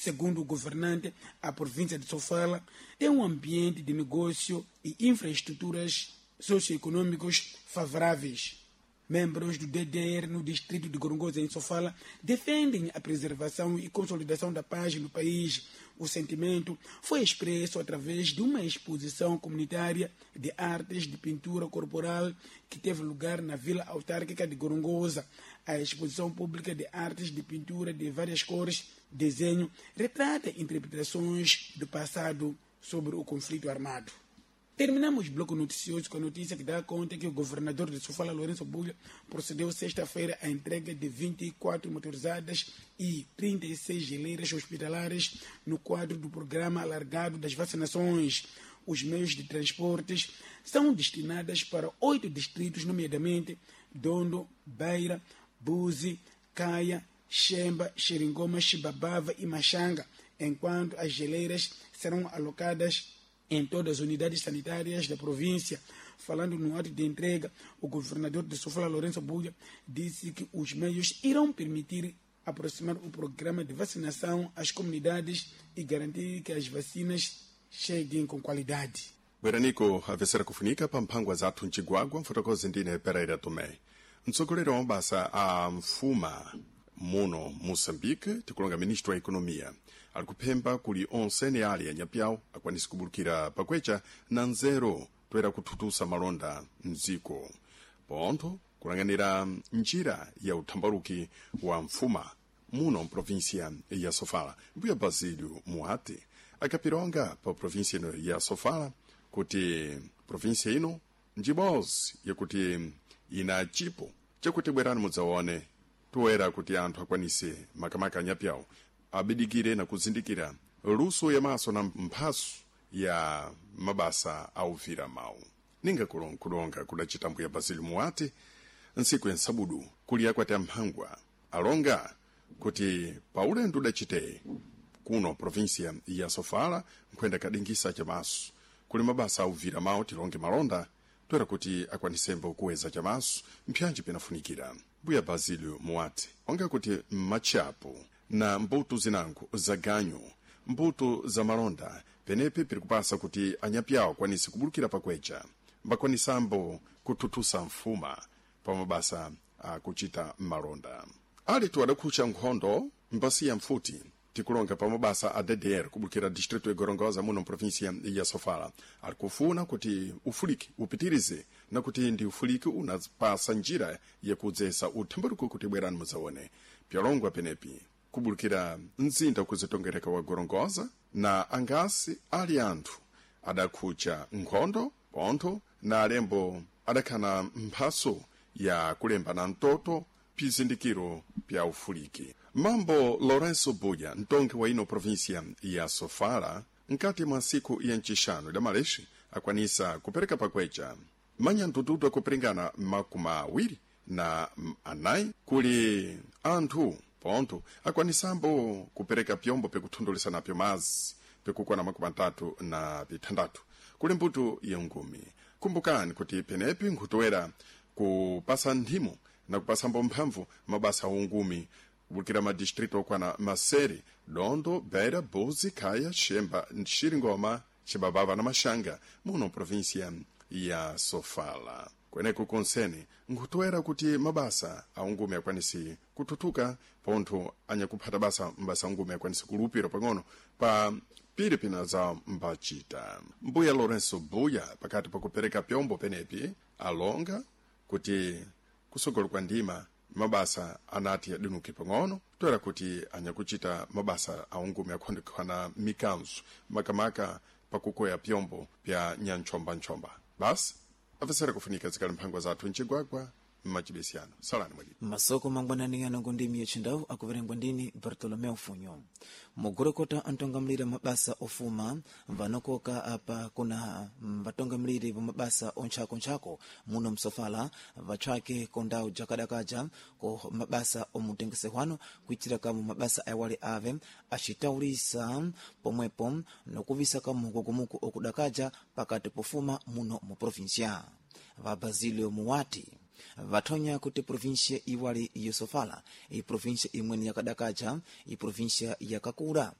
Segundo o governante, a província de Sofala tem um ambiente de negócio e infraestruturas socioeconômicos favoráveis. Membros do DDR no distrito de Gorongosa, em Sofala, defendem a preservação e consolidação da paz no país. O sentimento foi expresso através de uma exposição comunitária de artes de pintura corporal que teve lugar na Vila Autárquica de Gorongosa. A exposição pública de artes de pintura de várias cores, desenho, retrata interpretações do passado sobre o conflito armado. Terminamos o bloco noticioso com a notícia que dá conta que o governador de Sofala, Lourenço Bulha, procedeu sexta-feira à entrega de 24 motorizadas e 36 geleiras hospitalares no quadro do programa alargado das vacinações. Os meios de transportes são destinados para 8 distritos, nomeadamente Dondo, Beira, Buzi, Caia, Xemba, Xeringoma, Chibabava e Machanga, enquanto as geleiras serão alocadas em todas as unidades sanitárias da província. Falando no ato de entrega, o governador de Sofala, Lourenço Bulha, disse que os meios irão permitir aproximar o programa de vacinação às comunidades e garantir que as vacinas cheguem com qualidade. Bweranico apesera kufunika pa mphangwa zathu mcigwagwa mfotokozi ndine Pereira Tomé. Mtsogoleri wa mabasa a mfuma muno Moçambique, tikulonga ministro wa ekonomiya, ali kuphemba kuli onse ni ali anyapyawo akwanise kubulukira pakwecha na nzeru toera kuthutusa malonda mdziko, pontho kulang'anira njira ya uthambaluki wa mfuma muno mprovinsia ya Sofala. Mbuya Basílio Muati akapilonga pa provinsia ino ya Sofala kuti provinsia ino njibozi yakuti ina chipo chakuti bwerani mudzaone toera kuti anthu akwanise makamaka anyapyawo abidikire na kuzindikira luso yamaso na mphaso ya mabasa auvira mawu. Ninga kulonga kudacita mbuya Basílio Muati ntsiku ya nsabudu kuli akwati amphangwa alonga kuti paulendo udacite kuno provinsia ya Sofala nkhwenda kadingisa chamaso kuli mabasa auvira mawu, tilonge malonda, toera kuti akwanisembo kuweza chamaso mpyanji pinafunikira. Mbuya Basílio Muati onga kuti mmatchapo na mbuto zinango za ganyu, mbuto za malonda, penepe piri kupasa kuti anyapyawo akwanise kubulukira pakwecha mbakwanisambo kuthuthusa mfuma pa mabasa akuchita malonda. Alitu adakhucha nkhondo mbasiya mfuti, tikulonga pa mabasa a DDR kubulukira distrito ya Gorongosa muno mprovinsia ya Sofala, ali kufuna kuti ufuliki upitirize na kuti ndi ufuliki unapasa njira yakudzesa uthambaluko kuti bwerani mudzaone pyalongwa penepi kubulukira mzinda kuzitongereka wa Gorongosa na angasi ali anthu adakhucha nkhondo pontho na alembo adakhana mphaso ya kulemba na mtoto pizindikiro pya ufuliki. Mambo Lourenço Buya, mtongi wa ino provinsia ya Sofala, nkati mwa ntsiku ya ncixanu da malexi akwanisa kupereka pakwecha manyandududu akupiringana 24 kuli anthu, pontho akwanisambo kupereka pyombo pikuthundulisa napyo mazi pikukwana 36 kuli mbuto ya ngumi. Kumbukani kuti penepi nkhutowera kupasa nthimo na kupasambo mphamvu mabasa aungumi kubulukira madistrito okwana Masere, Dondo, Beira, Buzi, Kaya, Xemba, Xiringoma, Xibabava na Maxanga muno provinsia ya Sofala. Kweneko konsene nkhutoera kuti mabasa aungumi akwanise kuthuthuka, pontho anyakuphata basa mbasa aungumi akwanise kulupira pang'ono pa pili pina za mbachita. Mbuya Lourenço Buya pakati pakupereka pyombo penepi alonga kuti kusogolo kwa ndima mabasa anati adinuke pang'ono toera kuti anyakuchita mabasa aungumi akhondekhana mikanzo makamaka pakukoya pyombo pya nyanchombanchomba. Basi apesera kufunika zikali mphangwa zathu mcigwagwa mmachibesiyano. Salani mwalimu. Masoko mangwanani anango ndimi yachindawu akuverengwa ndini Bartolomeu Funyo. Mugurukota antongamlire mabasa ofuma vanokoka apa kuna vatongamlire va mabasa ontchakontchako muno msofala vatchake kondawu jakadakaja ko mabasa omutengesehwano kuitira kamu mabasa awali ave acitawulisa pomwepo nokuvisa kamu kukumuku okudakaja pakati pofuma muno mu provinsia. Va Basilio Muwati vathonya kuti provinsia iwali yosofala iprovinsia imweni yakadakaja iprovinsia yakakula.